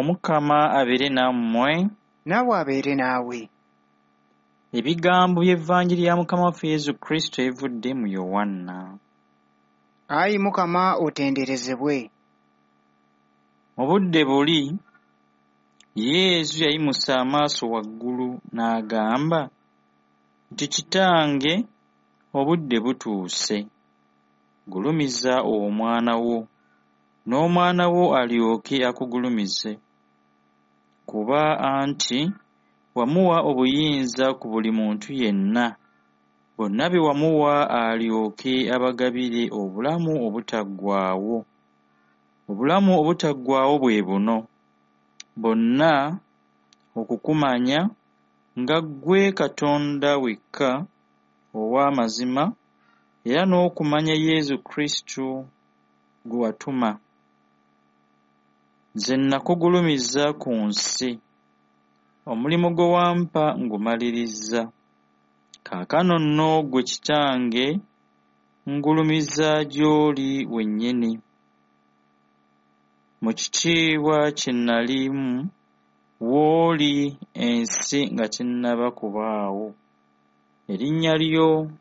Omukama abeere nammwe. Naawe abeere naawe. Ebigambo by'Evanjiri ya Mukama waffe Yesu Kristo evudde mu Yowanna. Ayi Mukama otenderezebwe. Mu budde buli, Yesu yayimusa amaaso waggulu n'agamba nti Kitange obudde butuuse, gulumiza omwana wo, n'omwana wo alyoke akugulumize. Kuba anti wamuwa obuyinza ku buli muntu yenna, bonna be wamuwa alyoke abagabire obulamu obutaggwaawo. Obulamu obutaggwaawo bwe buno, bonna okukumanya nga ggwe Katonda wekka ow'amazima era n'okumanya Yesu Kristo gwe watuma. Nze nakugulumiza ku nsi, omulimu gwe wampa ngumalirizza. Kaakano nno ggwe Kitange ngulumiza gy'oli wennyini, mu kitiibwa kye nalimu w'oli ensi nga tennaba kubaawo. Erinnya lyo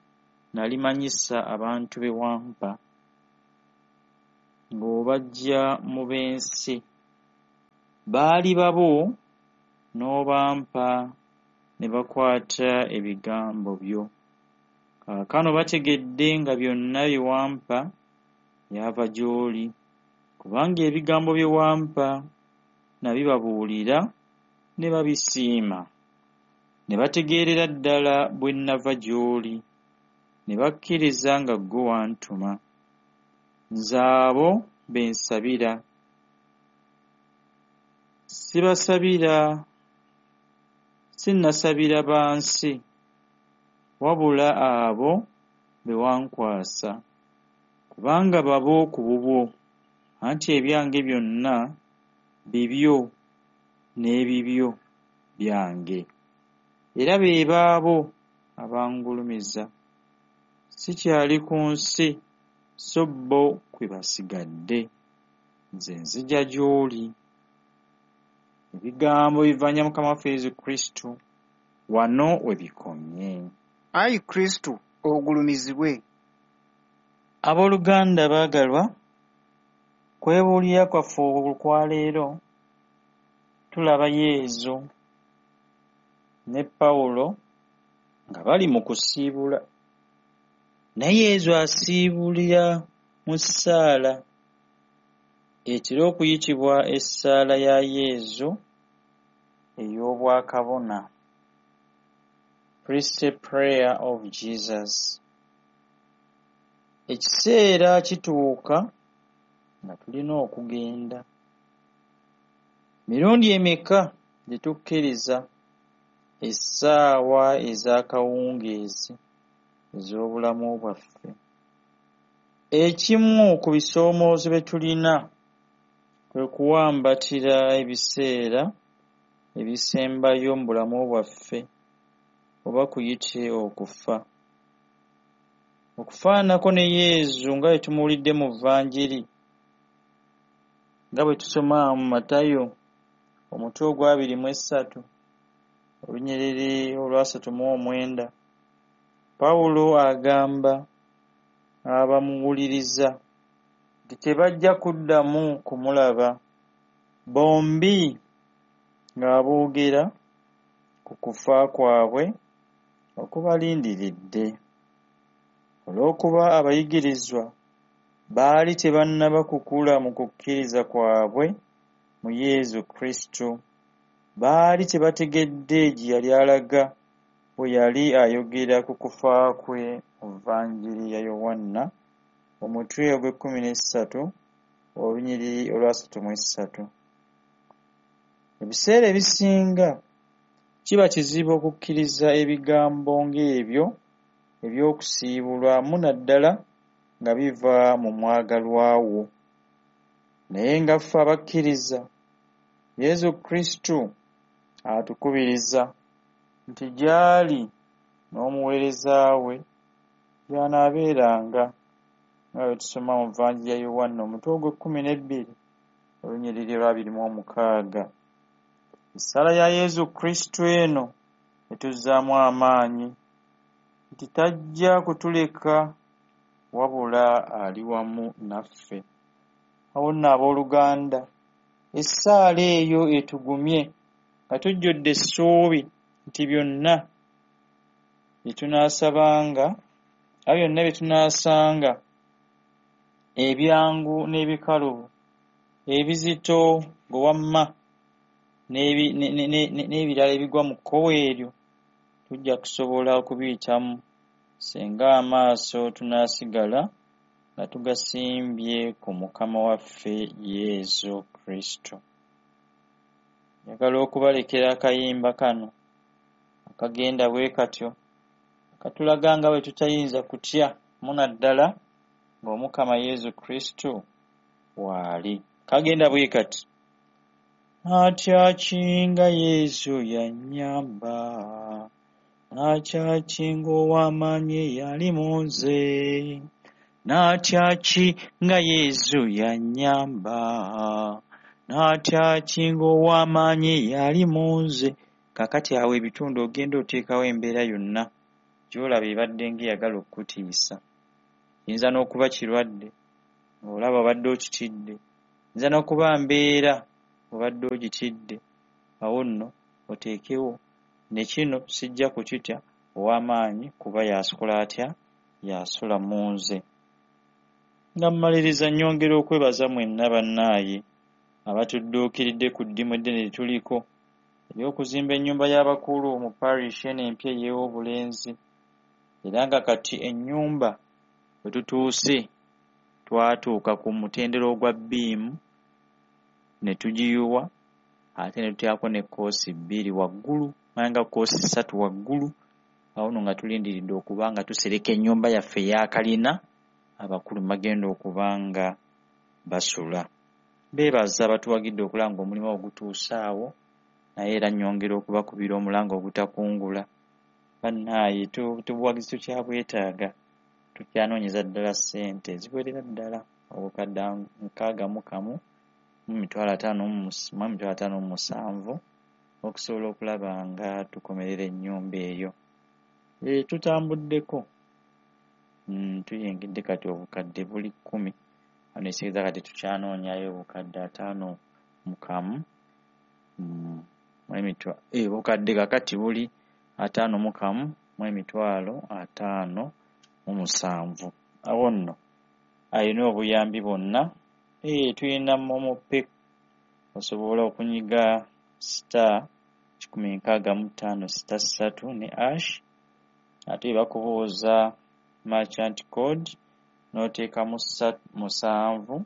nalimanyisa abantu be wampa, ng'obaggya mu b'ensi. Baali babo n'obampa ne bakwata ebigambo byo. Kaakano bategedde nga byonna bye wampa byava gy'oli, kubanga ebigambo bye wampa nabibabuulira ne babisiima, ne bategeerera ddala bwe nava gy'oli, ne bakkiriza nga ggwe wantuma. Nze abo be nsabira. Sinnasabira ba nsi, wabula abo be wankwasa, kubanga babo ku bubwo, anti ebyange byonna bibyo n'ebibyo byange, era be baabo abangulumiza. Sikyali ku nsi, so bo kwe basigadde, nze nzija gy'oli. Ebigambo bivanya Mukama waffe Yesu Kristo wano we bikomye. Ayi Kristo ogulumizibwe. Abooluganda baagalwa, kwebuulira kwaffe okwaleero tulaba Yesu ne Pawulo nga bali mu kusiibula. Naye Yesu asiibulira mu ssaala etera okuyitibwa essaala ya Yesu ey'obwakabona, Priestly Prayer of Jesus. Ekiseera kituuka nga tulina okugenda. Mirundi emeka gye tukkiriza essaawa ez'akawungeezi ez'obulamu bwaffe? Ekimu ku bisoomoozo bye tulina kwe kuwambatira ebiseera ebisembayo mu bulamu bwaffe oba kuyite okufa. Okufaananako ne Yesu nga bwe tumuwulidde mu Vanjiri, nga bwe tusoma mu Matayo omutwe ogwa 23 olunyiriri olwa 39, Pawulo agamba abamuwuliriza nti tebajja kuddamu kumulaba, bombi ng'aboogera ku kufa kwabwe okubalindiridde. Olw'okuba abayigirizwa baali tebannaba kukula mu kukkiriza kwabwe mu Yesu Kristo, baali tebategedde gye yali alaga bwe yali ayogera ku kufa kwe mu Vanjiri ya Yowanna omutwe ogw'ekkumi n'essatu olunyiriri olwa 33. Ebiseera ebisinga kiba kizibu okukkiriza ebigambo ng'ebyo eby'okusiibulwamu naddala nga biva mu mwagalwa wo. Naye nga ffe abakkiriza, Yesu Kristo atukubiriza nti gy'ali n'omuweereza we gy'anaabeeranga, nga bwe tusoma mu Vanjiri ya Yowanna omutwe ogw'ekkumi n'ebbiri olunyiriri Olunyiriri olw'abiri mu mukaaga. Essaala ya Yezu Kristu eno etuzzaamu amaanyi nti tajja kutuleka wabula ali wamu naffe. Awo nno abooluganda, essaala eyo etugumye nga tujjudde essuubi nti byonna bye tunaasabanga, byonna bye tunaasanga, ebyangu n'ebikalubo, ebizito gwe wamma n'ebirala ebigwa mu kkowe eryo, tujja kusobola okubiyitamu singa amaaso tunaasigala nga tugasimbye ku Mukama waffe Yezu Kristo. Njagala okubalekera akayimba kano akagenda bwe katyo, akatulaga nga bwe tutayinza kutya munaddala ng'Omukama Yezu Kristo waali. Kagenda bwe kati: Natya ki nga Yezu yannyamba, natya ki ng'ow'amaanyi eyali mu nze, natya ki nga Yezu yannyamba, natya ki ng'ow'amaanyi eyali mu nze. Kaakati awo ebitundu ogenda oteekawo embeera yonna gy'olaba ebadde ng'eyagala okukutiisa. Kiyinza n'okuba kirwadde ng'olaba obadde okitidde, kiyinza n'okuba mbeera obadde ogitidde. Awo nno oteekewo ne kino sijja kukitya ow'amaanyi kuba y'akola atya? Y'asula mu nze. Nga mmaliriza nnyongera okwebaza mwenna bannaaye abatudduukiridde ku ddimu eddene lye tuliko ery'okuzimba ennyumba y'abakulu mu parish eno empya ey'Obulenzi, era nga kati ennyumba we tutuuse twatuuka ku mutendera ogwa bbiimu ne tugiyiwa ate ne tuteekako ne kkoosi bbiri waggulu, manya nga kkoosi ssatu waggulu. Awo nno nga tulindiridde okuba nga tusereka ennyumba yaffe eya kalina abakulu bagenda okuba nga basula. Mbeebaza abatuwagidde okulaba ng'omulimu ogwo gutuuse awo, naye era nnyongera okubakubira omulanga ogutakungula. Bannaaye, obuwagizi tukyabwetaaga, tukyanoonyeza ddala ssente eziwerera ddala obukadde 61 mu 557 okusobola okulaba nga tukomerera ennyumba eyo. Tutambuddeko, tuyingidde kati obukadde buli 10, wano ekitegeeza kati tukyanoonyayo obukadde 51, obukadde kaakati buli 51 mu 57,000. Awo nno alina obuyambi bwonna, tulina MoMo Pay, osobola okunyiga *165*3 ne hash, ate bwe bakubuuza merchant code n'oteekamu 7 3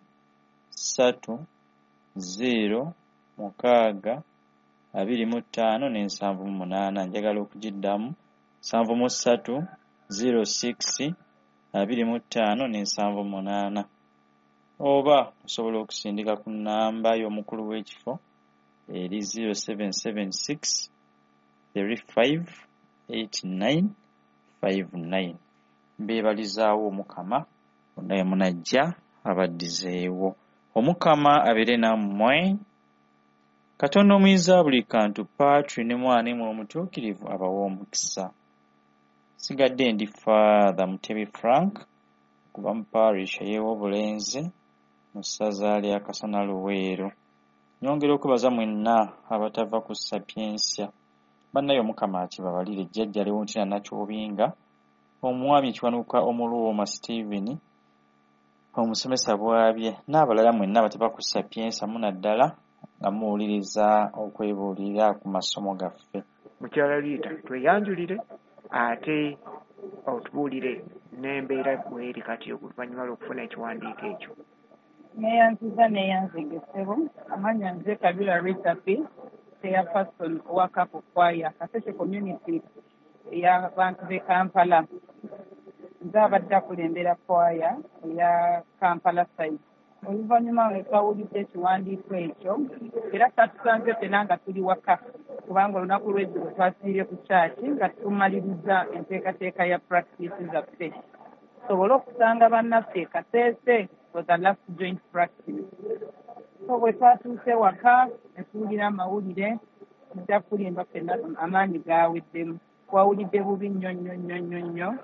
0 6 25 ne 78. Njagala okugiddamu: 73 06 25 ne 78. Oba osobola okusindika ku nnamba y'omukulu w'ekifo eri 0776 35 89 59. Mbeebalizaawo Omukama bonna we munajja abaddizeewo. Omukama abeere nammwe. Katonda omuyinza buli kantu, Patri ne Mwana ne Mwoyo Omutuukirivu abawe omukisa. Sigadde ndi Father Mutebi Frank okuva mu parish ey'Obulenzi mu ssaza lya Kasana Luweero. Nyongera okwebaza mwenna abatava ku Sapientia. Bannaye Omukama akibabalire. Jjajja Leontina Nakyobinga, Omwami Kiwanuka Omuluuma Stephen, omusomesa Bwabye n'abalala mwenna abatava ku Sapientia, munaddala nga muwuliriza okwebuulirira ku masomo gaffe. Mukyala Rita, tweyanjulire ate otubuulire n'embeera bw'eri kati oluvannyuma lw'okufuna ekiwandiiko ekyo. Neeyanziza, neeyanzige ssebo. Amannya nze Kabira Rita P, chairperson owa Kapo Choir, Kasese Community ey'abantu b'e Kampala. Nze abadde akulembera kwaya eya Kampala side. Oluvannyuma nga twawulidde ekiwandiiko ekyo, era kyatusanze ffenna nga tuli waka, kubanga olunaku lw'eggulo twasiibye ku kyaki nga tumaliriza enteekateeka ya practice zaffe tusobole okusanga bannaffe e Kasese for the last joint practice. So bwe twatuuse waka ne tuwulira amawulire, tujja kulimba ffenna amaanyi gaaweddemu. Twawulidde bubi nnyo nnyo nnyo nnyo nnyo,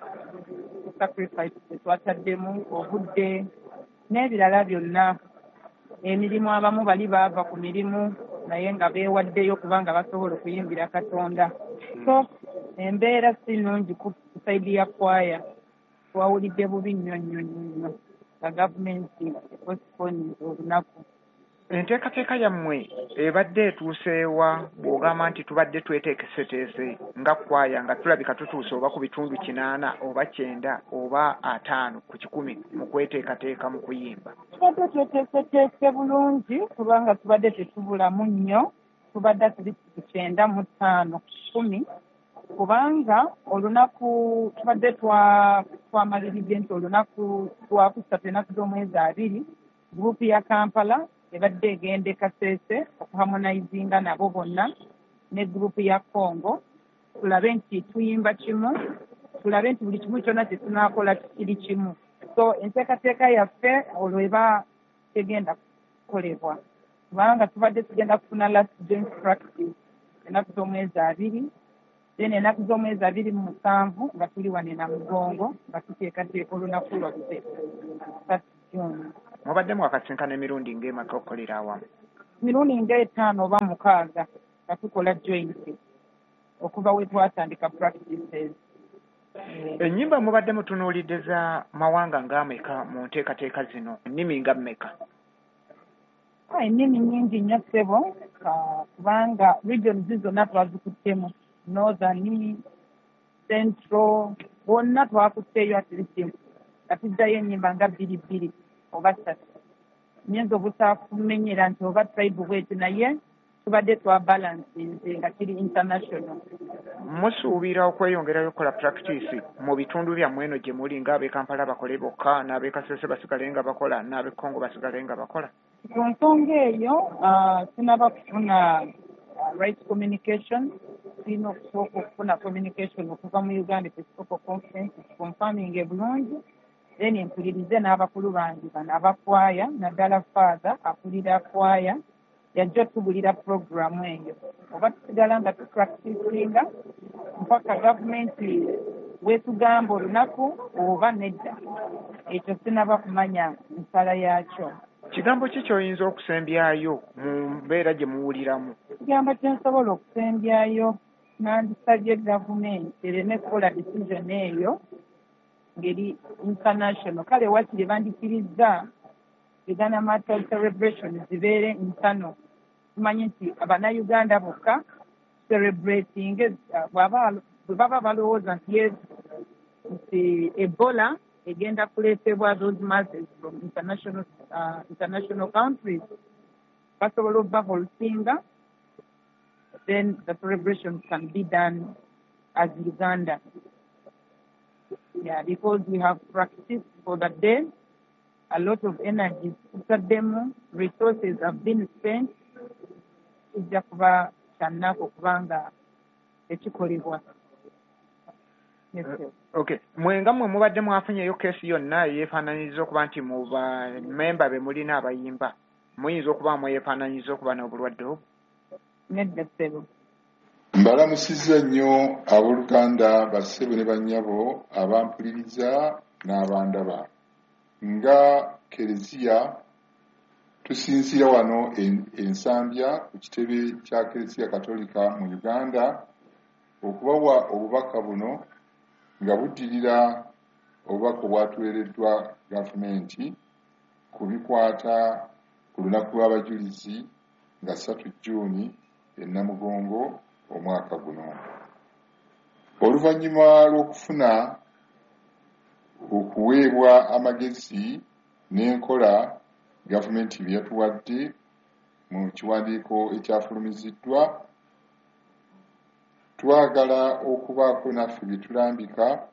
sacrifice ze twataddemu, obudde n'ebirala byonna, emirimu, abamu bali baava ku mirimu naye nga beewaddeyo kubanga basobola okuyimbira Katonda. So embeera si nnungi ku side ya kwaya. Twawulidde bubi nnyo nnyo nnyo nnyo nga gavumenti epostpone olunaku. Enteekateeka yammwe ebadde etuuseewa bw'ogamba nti tubadde tweteekeseteese nga kwaya nga tulabika tutuuse oba ku bitundu 80 oba 90 oba 50% mu kweteekateeka mu kuyimba? Tubadde tweteeseteese bulungi kubanga tubadde tetubulamu nnyo, tubadde tuli ku 95%, kubanga olunaku tubadde twamaliridde nti olunaku lwakusatu, ennaku z'omwezi 20, gurupu ya Kampala ebadde egenda e Kasese okuharmonizinga nabo bonna ne gurupu ya Congo, tulabe nti tuyimba kimu, tulabe nti buli kimu kyonna kye tunaakola kiri kimu. So enteekateeka yaffe olwo eba tegenda kukolebwa kubanga tubadde tugenda kufuna last joint practice ennaku z'omwezi 20, then ennaku z'omwezi 27 nga tuli wano e Namugongo nga tuteekateeka olunaku lwaffe 3 June. Mubadde mwakasinkana emirundi ng'emeka okukolera awamu? Mirundi nga 5 oba 6 nga tukola joint okuva we twatandika practices. Ennyimba mubadde mutunuulidde za mawanga ng'ameka mu nteekateeka zino? Nnimi nga mmeka? Ennimi nnyingi nnyo ssebo, kubanga regions zonna twazikuttemu, Northern, Central, bonna twakutteeyo, at least nga tujjayo ennyimba nga bbiri bbiri oba ssatu. Nnyinza obutakumenyera nti oba tribe bweti, naye tubadde twabalansinze nga kiri international. Musuubira okweyongerayo okukola practice mu bitundu byammwe eno gye muli, ng'ab'e Kampala bakole bokka, n'ab'e Kasese basigale nga bakola, n'ab'e Congo basigale nga bakola? Ku nsonga eyo tunaba kufuna right communication. Tulina okusooka okufuna communication okuva mu Uganda Episcopal Conference confirming bulungi, then mpulirize n'abakulu bange bano abakwaya, naddala Father akulira kwaya yajja otubulira programu eyo, oba tusigala nga tupracticinga mpaka gavumenti wetugamba olunaku oba nedda. Ekyo sinaba kumanya nsala yaakyo. Kigambo ki ky'oyinza okusembyayo mu mbeera gye muwuliramu? Ekigambo kye nsobola okusembyayo, nandisabye gavumenti ereme kukola decision eyo ngeri international. Kale wakiri bandikirizza Uganda Martyrs celebration zibeere internal, tumanyi nti Abannayuganda bokka celebrating. Bwe baba balowooza nti yes, nti Ebola egenda kuleetebwa those masses from international countries, basobola okubaholtinga, then the celebrations can be done as Uganda. Yeah, because we have practiced for the day, a lot of energy tutaddemu, resources have been spent, kijja kuba kyannaku okubanga tekikolebwa. Yes, sir. Okay, mwe nga mmwe mubadde mwafunyeyo case yonna eyeefaananyiriza okuba nti mu bamemba be mulina abayimba muyinza okuba mweyeefaananyiriza okuba n'obulwadde obwo? Nedda ssebo. Mbalamusizza nnyo abooluganda, bassebo ne bannyabo abampuliriza n'abandaba. Nga Kereziya tusinziira wano e Nsambya ku kitebe kya Kereziya Katolika mu Uganda okubawa obubaka buno nga buddirira obubaka obwatuweereddwa gavumenti ku bikwata ku lunaku lw'abajulizi nga 3 Jjuuni e Namugongo omwaka guno. Oluvannyuma lw'okufuna okuweebwa amagezi n'enkola gavumenti bye yatuwadde mu kiwandiiko ekyafulumiziddwa, twagala okubaako naffe bye tulambika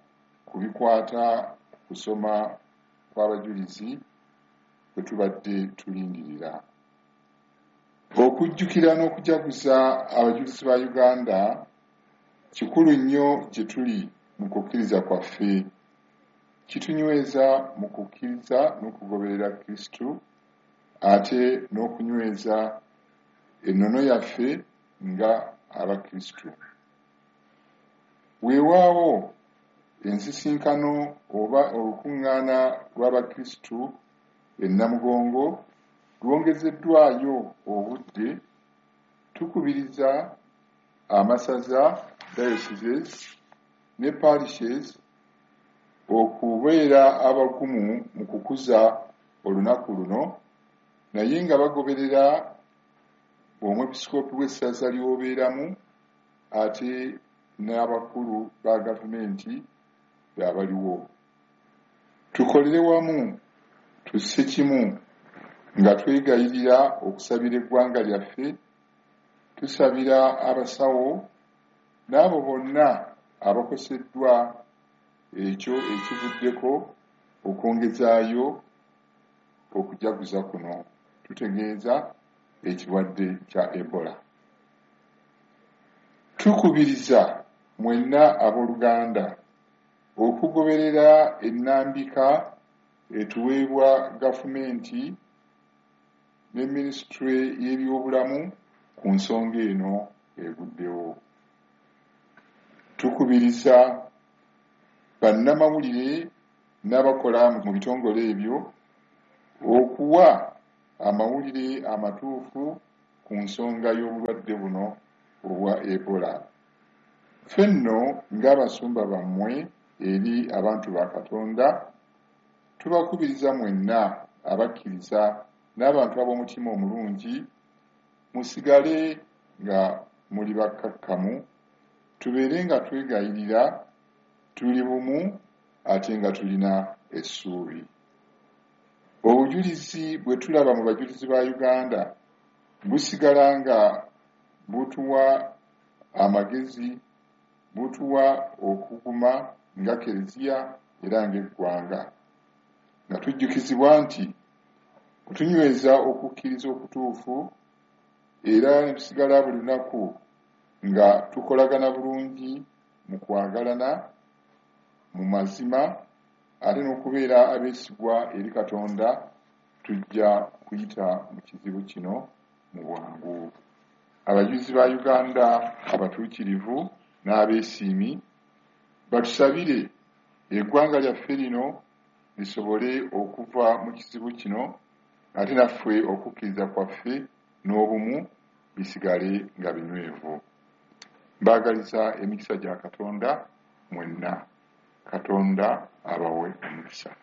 ku bikwata ku kusoma kw'abajulizi kwe tubadde tulindirira. Okujjukira n'okujaguza abajulizi ba Uganda kikulu nnyo gye tuli mu kukkiriza kwaffe. Kitunyweza mu kukkiriza n'okugoberera Kristo ate n'okunyweza ennono yaffe nga Abakristu. Weewaawo ensisinkano oba olukuŋŋaana lw'Abakristu e Namugongo lwongezeddwayo obudde, tukubiriza amasaza, dioceses ne parishes okubeera abagumu mu kukuza olunaku luno naye nga bagoberera Omwepisikoopi w'essaza ly'obeeramu ate n'abakulu ba gavumenti abaliwo. Tukolere wamu tusse kimu nga twegayirira okusabira eggwanga lyaffe, tusabira abasawo n'abo bonna abakoseddwa ekyo ekivuddeko okwongezaayo okujaguza kuno, tutegeeza ekirwadde kya Ebola. Tukubiriza mwenna abooluganda okugoberera ennambika etuweebwa gavumenti ne minisitule y'ebyobulamu ku nsonga eno eguddewo. Tukubiriza bannamawulire n'abakola mu bitongole ebyo okuwa amawulire amatuufu ku nsonga y'obulwadde buno obwa Ebola. Ffe nno ng'abasumba bammwe eri abantu ba Katonda, tubakubiriza mwenna abakkiriza n'abantu ab'omutima omulungi, musigale nga muli bakkakkamu, tubeere nga twegayirira, tuli bumu ate nga tulina essuubi. Obujulizi bwe tulaba mu Bajulizi ba Uganda busigala nga butuwa amagezi, butuwa okuguma nga Kereziya era ng'eggwanga, nga tujjukizibwa nti kutunyweza okukkiriza okutuufu era ne tusigala buli lunaku nga tukolagana bulungi mu kwagalana mu mazima ate n'okubeera abeesigwa eri Katonda, tujja kuyita mu kizibu kino mu bwangu. Abajulizi ba Uganda abatuukirivu n'abeesiimi batusabire eggwanga lyaffe lino lisobole okuva mu kizibu kino ate naffe okukkiriza kwaffe n'obumu bisigale nga binywevu. Mbaagaliza emikisa gya Katonda mwenna. Katonda abawe omukisa.